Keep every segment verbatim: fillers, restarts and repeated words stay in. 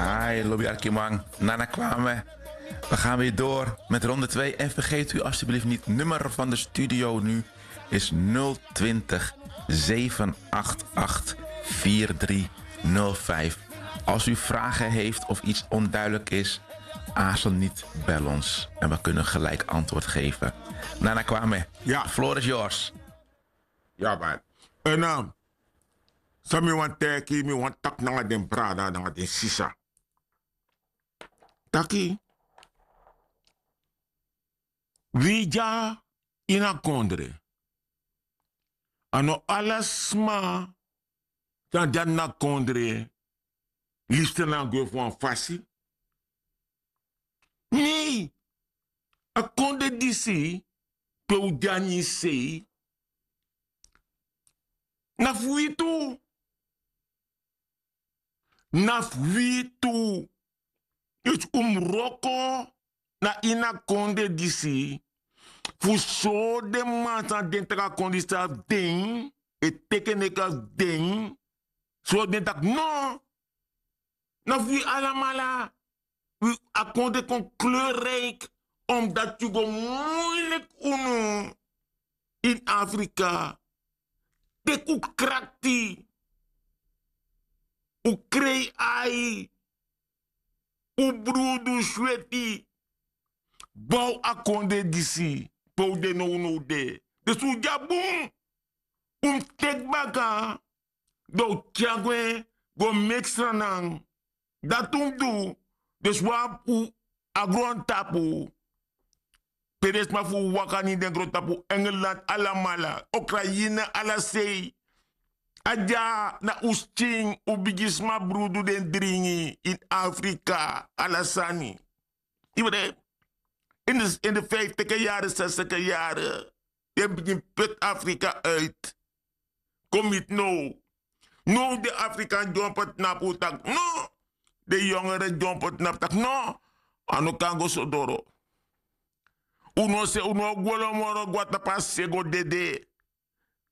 Ai, lobi arkiman, nana kwame. We gaan weer door met ronde twee. En vergeet u alstublieft niet, nummer van de studio nu is nul twintig, zeven acht acht, vier drie nul vijf. Als u vragen heeft of iets onduidelijk is, aarzel niet, bel ons. En we kunnen gelijk antwoord geven. Nana kwame, ja, floor is yours. Ja, man. En, eh, so mi wan teki, mi wan taki nanga den brada, nanga den sisa. Taki, wi dya ini a kondre. A no ala sma san dya na kondre, lifsten na gwe fu wan fasi. Nei, a kondre disi pe un de na ini sei, na fu wi tu. Na fu wi tu. Yu si un mus wroko na ini a kondre disi fu sori den man san den taki a kondre disi abi den, e teki en neki abi den. Sori den taki no, na fu wi alamala. Wi, a kondre kon kleurrijk, omdat yu go moeilijk unu in Afrika. Teki un krakti, un krei ai, un brudu sweti, bow a kondre disi pe un de nownow de. Dus un dya bun, un teki baka, dan un tyari gwe go meki sranan. Dati un mus du. Dus wan fu a grontapu pe den sma fu un waka na ini den grontapu, Engeland, alamala, Ukraine, ala sei. A dya na un skin, un bigisma brudu den dringi in Afrika, ala sani. Yu begrijp? In de, in de vijftiger jaren, zestiger jaren, den bigin put Afrika uit. Kon miti now. Now den Afrikan dyompo tnapu taki no. Den yongere dyompo tnapu taki no. A no kan go so doro. Un no se, un no o gwe lo moro, gwe na tapu a se go dede.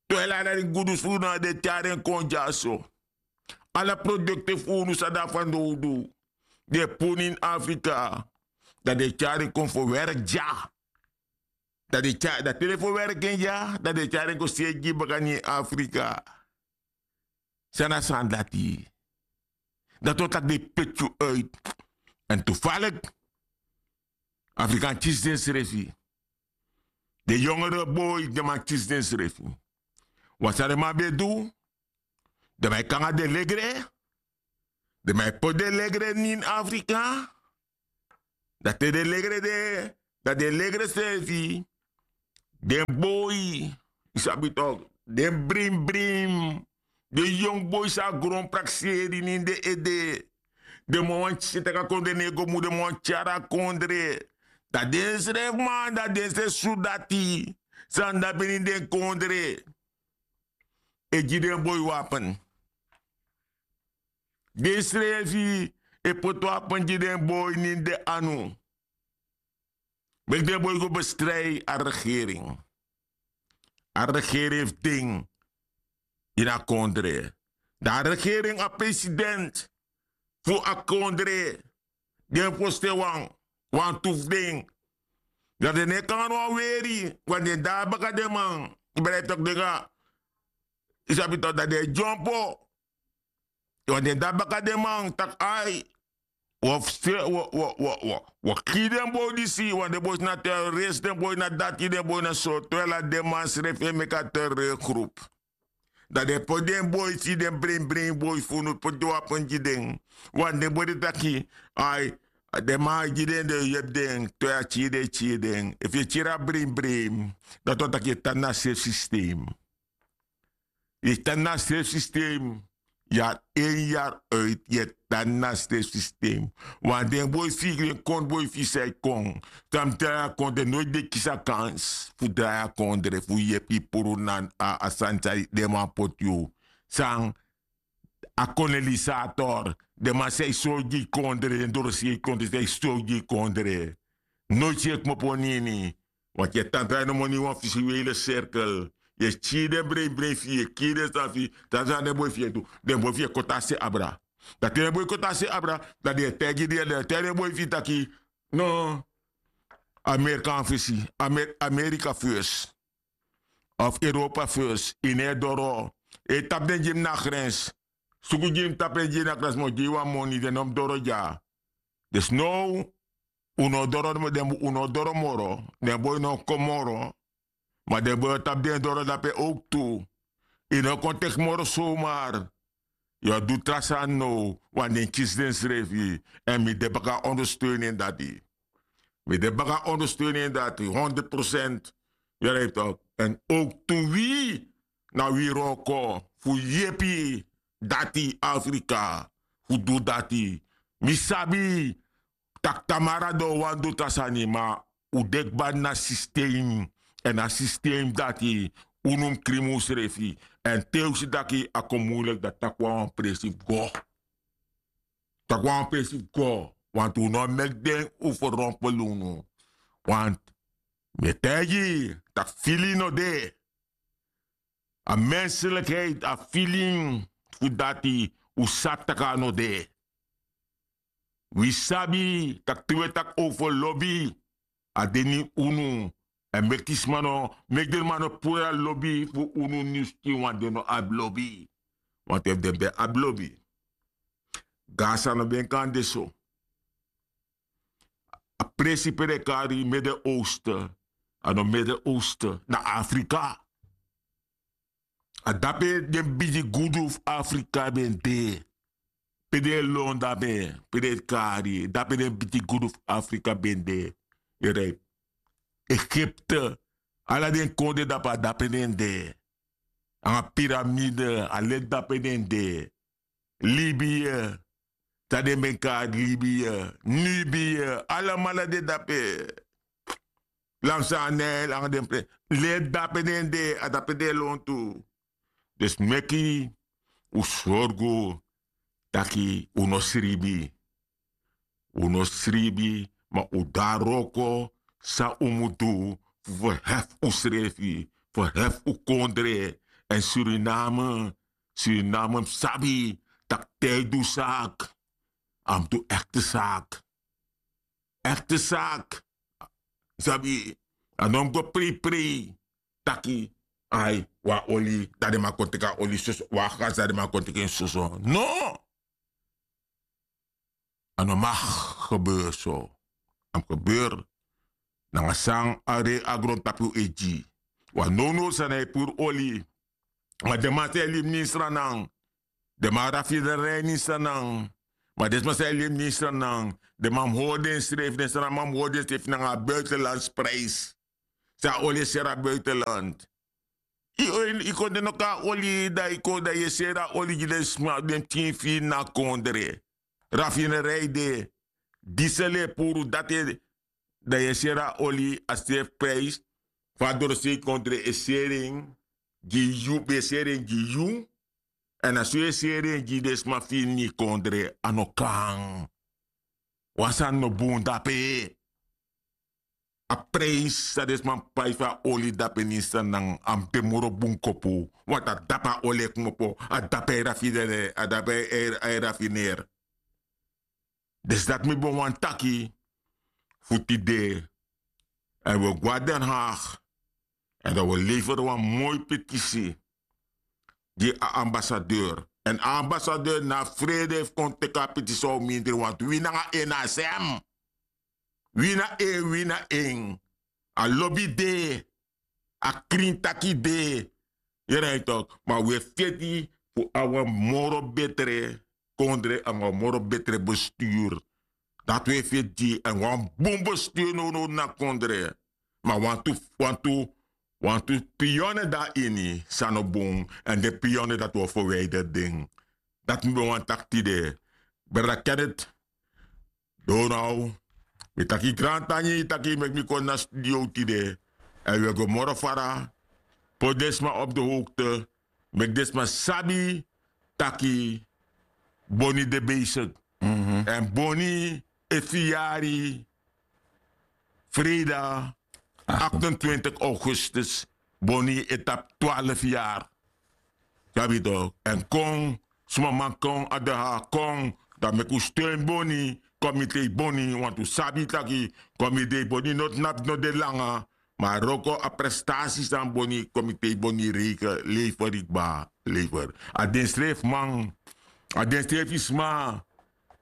Terwijl ala den gudu fu unu, den e tyari en kon dyaso. Ala produkte fu unu san de na fanowdu, den e puru na ini Afrika. Dan den e tyari en kon fu werk dya. Dan den e tyari, dan te den fu werk en dya, dan den e tyari en kon seri gi baka na ini Afrika. San na sani dati? Dati wani taki den e peti yu uit. En toevallig, Afrikan kisi densrefi. Den yongere boi, den man kisi densrefi. Wan san den man ben du, den man e kon nanga den legre. Den man e poti den legre na ini Afrika. Dan te den legre de, dan den legre srefi, den boi, yu sabi tok, den brimbrim, den yongu boi san a gron prakseri na ini den ede. Den man wani si taki a kondre no e go bun, den man wani tyari a kondre. Dan den srefi man, dan den srefi sudati san de na bini den kondre, e gi den boi wapen. Den srefi e poti wapen gi den boi na ini den anu. Meki den boi go bestrij a regering. A regering hebi den ini a kondre. Dan a regering, a president fu a kondre, den fosten wan, wantu fu den. Dan den no e kon nanga no wan weri, want den de na baka den man. Yu begrijp tok, den kan, yu sabi tok, dan den e dyompo. Want den de na baka den man taki ai, wi o fu se, wi o, wi o, wi o, wi o, wi o kiri den boi disi, want den boi na terrorist, den boi na dati, den boi na so. Terwijl a den man srefi e meki a terreurgroep. Dan den poti den boi, si den brimbrim boi fu unu, poti den wapen gi den. Want den boi de taki, ai, den man e gi den, den e yepi den, te a kiri den, kiri den. Efu yu e kiri a brimbrim, dati wani taki yu e tan na a srefi systeem. Yu e tan na a srefi systeem. Yari in, yari uit, yu e tan na a srefi systeem. Want den boi fu yu, den kon boi fu yu san e kon, san mus drai a kondre, noiti den kisi a kans fu drai a kondre, fu yepi puru na a, a sani san den man poti yu. San a kolonisator, den man san e sori gi yu kondre, den doroseri kondre san e sori gi yu kondre. Noiti yu e kmopo na ini. Want yu e tan drai nomo na ini wan visuele cirkel. Yu e kiri den brimbrim fu yu, yu e kiri den sani fu yu, dan san den boi fu yu e du? Den boi fu yu e koti a se abra. Dan te den boi koti a se abra, dan den e taigi den, den e taigi den boi fu yu taki, no, Amerika fesi, Amer- Amerika fesi, of Europa fesi, yu no e doro. E tapu den gi mi na grens. Suku gi mi tapu en gi yu na grens, mi o gi yu wan moni, den no mus doro dya. Dus now, un no doro, den un no doro moro, den boi no kon moro. Ma den boi o tapu den doro dape owktu. Yu no kon teki moro somar. Yu o du tra sani now, want den kisi densrefi. Èn mi de baka ondersteuning dati. Mi de baka ondersteuning dati honderd procent. Yu e begrijp tok? Èn owktu wi, na wi wroko fu yepi dati Afrika fu du dati. Mi sabi tak' tamara den o wani du tra sani, ma un de kba na systeem. Èn a systeem dati, unu mus krimi unsrefi. Èn te un si taki a kon muiliki, dan taki wan presi fu go. Taki wan presi fu go. Want un no meki den un ferrompel unu. Want mi e taigi yu tak' fili no de. A menselikheid, a feeling fu dati, un sabi tak' a no de. Wi sabi tak' te wi e taki over lobi, a de ini unu. Èn meki sma no, meki den man no puru a lobi fu unu ini unu skin, want den no abi lobi. Want efu den ben abi lobi, Gaza no ben kan de so. A presi pe den e kari Midden-Oosten, a no Midden-Oosten, na Afrika. A dape den bigi gudu fu Afrika ben de. Pe den e lon dape, pe den e kari, dape den bigi gudu fu Afrika ben de. Yu e begrijp? Egipte, ala den kondre dape, a dape den de. Nanga piramide, a leti dape den de. Libië, san den ben kari Libië, Nubië, alamala de dape. Langs a Nijl, nanga den pe, leti dape den de, a dape den e lon tu. Dus meki un sorgu taki un no sribi. Un no sribi, ma un de na wroko san un mus du fu verhefi unsrefi, verhefi un kondre. Èn Suriname, Suriname mus sabi tak' te a e du saki, a mus du ekte saki. Ekte saki. Sabi, a no mus go preiprei taki, ai, wan oli, dan den man kon teki a oli soso, wan gas, dan den man kon teki en soso. No! A no mag gebeuren so. A mus gebeuren nanga san a rei a grontapu e gi. Wan nownow sani, a e puru oli. Ma den man san e libi ini Sranan, den man raffinerie ini Sranan. Ma den sma san e libi ini Sranan, den man mus hori densrefi, den Sranan man mus hori densrefi nanga a buitenlandse prijs. San a oli e seri a buitenland. Yu, yu kondre no kon na oli, dan yu kon, dan yu e seri a oli gi den sma, den pikin fu yu na kondre. Raffinerie de, diesel e puru, dati e, dan yu e seri a oli a sefi prijs. Fa a dorosei kondre e seri en gi yu, ben e seri en gi yu. Èn a so yu e seri en gi den sma fu yu ini yu kondre, a no kan. Wan sani no bun dape. A prijs san den sma pai fu a oli dape ini Sranan, a mus de moro bun kopu. Want a dape a oli e kmopo, a dape a e raffineer, a dape a e, a e raffineer. Dus dati mi ben wani taki fu tide. Èn wi o go na Den Haag. Èn dan wi o leveri wan moi petisi gi a ambassadeur. Èn a ambassadeur na frede fu kon teki a petisi, a o mindri, want wi nanga en na sem. Wi na en, wi na en. A lobi de, a krin taki de. Yu e begrijp tok? Ma wi e feti fu abi wan moro betre kondre, nanga wan moro betre bestuur. Dati wi e feti gi, èn wan bun bestuur nownow na kondre. Ma wantu, wantu, wantu pionnen de na ini san no bun, èn den pionnen dati wi o verwijderi den. Dati mi ben wani taki tide. Brada Kenneth, Donald, mi taki grantangi taki yu meki mi kon na studio tide. Èn wi e go moro fara, poti den sma op de hoogte, meki den sma sabi taki Boni de bezig. Èn Boni e fiyari freida achtentwintig augustus. Boni e tapu twaalf yari. Sabi yu tok? Èn kon sma man kon a de ha kon. Dan meki un steun boni. Komite boni wantu sabi taki komite boni no tnapu no de langa. Ma a wroko a prestasi san boni komite boni reike leiferi kba. Leiferi a den srefi man, a den srefi sma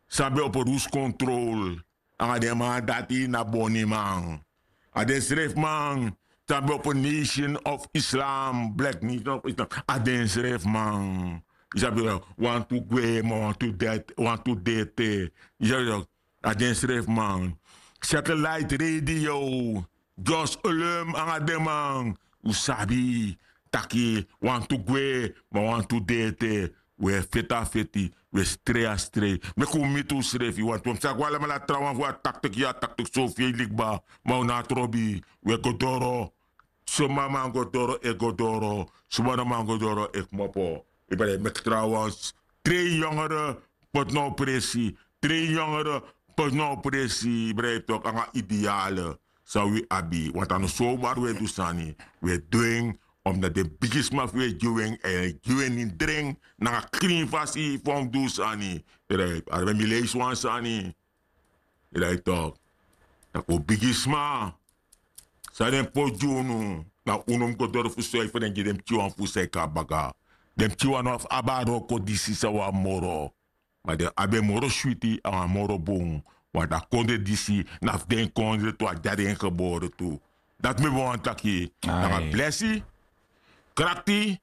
san ben opo rus kontrol nanga den man dati na boniman. A den srefi man san ben opo nation of islam black nation of islam. A den srefi man. Yu sabi, wantu gwe ma wantu dete wantu dete. Yu sabi, a den srefi man. Satellite radio, just olum nanga den man. Un sabi taki wantu gwe ma wantu de ete. Un e feti a feti, un e strei a strei. Meki un miti unsrefi wantu un mus sa go alamala trawan fu a taktik ya taktik sofi e likba. Ma un na a trobi. Un e go doro. Suma man go doro e go doro. Suma no man go doro e kmopo. Yu ben e meki trawan. Trei yongere poti na opresi. Trei yongere poti na opresi yu ben e toki nanga ideale. San wi abi want a no somar wi e du sani. Wi e du en omdat den bigisma fu wi e gi wi en èn e gi wi en ini dren nanga krin fasi fu a mus du sani. Yu rai a ben mi leisi wan sani. Yu rai tok' tak' un bigisma san den poti gi unu. Na unu mus go doro fu soi fu den gi den pikinwan fu un san e kon na baka. Den pikinwan no abi a wroko disi san wi abi moro. Ma den abi en moro switi nanga moro bun. Want a kondre disi na fu den kondre tu a de na den gebore tu. Dati mi ben wani taki nanga blesi krakti.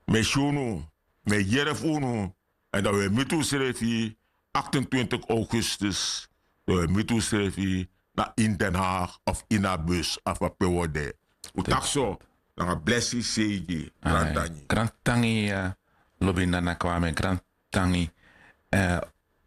Mi e si unu, mi e yere fu unu. Èn dan wi e miti unsrefi aktentwintig augustus. Dan wi e miti unsrefi na ini den haag of ini a bus of a pe wi o de. Un taki so. Nanga blesi seigi. Grantangi. Grantangi. Lobi nana kwame grantangi.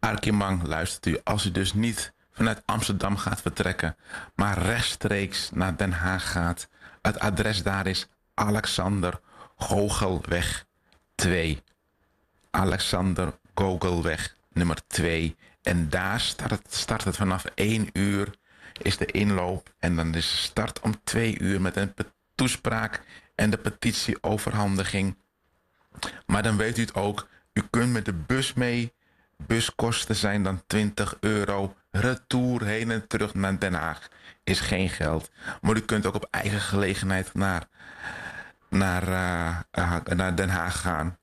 Arkiman, luistert u, als u dus niet vanuit Amsterdam gaat vertrekken, maar rechtstreeks naar Den Haag gaat, het adres daar is Alexander Gogelweg twee. Alexander Gogelweg nummer twee. En daar start, start het vanaf één uur, is de inloop. En dan is de start om twee uur met een toespraak en de petitieoverhandiging. Maar dan weet u het ook, u kunt met de bus mee. Buskosten zijn dan twintig euro. Retour heen en terug naar Den Haag is geen geld. Maar u kunt ook op eigen gelegenheid naar, naar, eh, naar Den Haag gaan.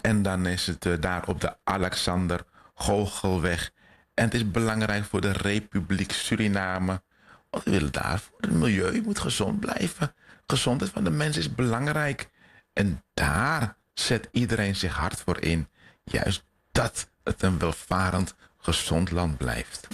En dan is het eh, daar op de Alexander Goochelweg. En het is belangrijk voor de Republiek Suriname. Want we willen daar voor het milieu, u moet gezond blijven. Gezondheid van de mens is belangrijk. En daar zet iedereen zich hard voor in. Juist dat het een welvarend, gezond land blijft.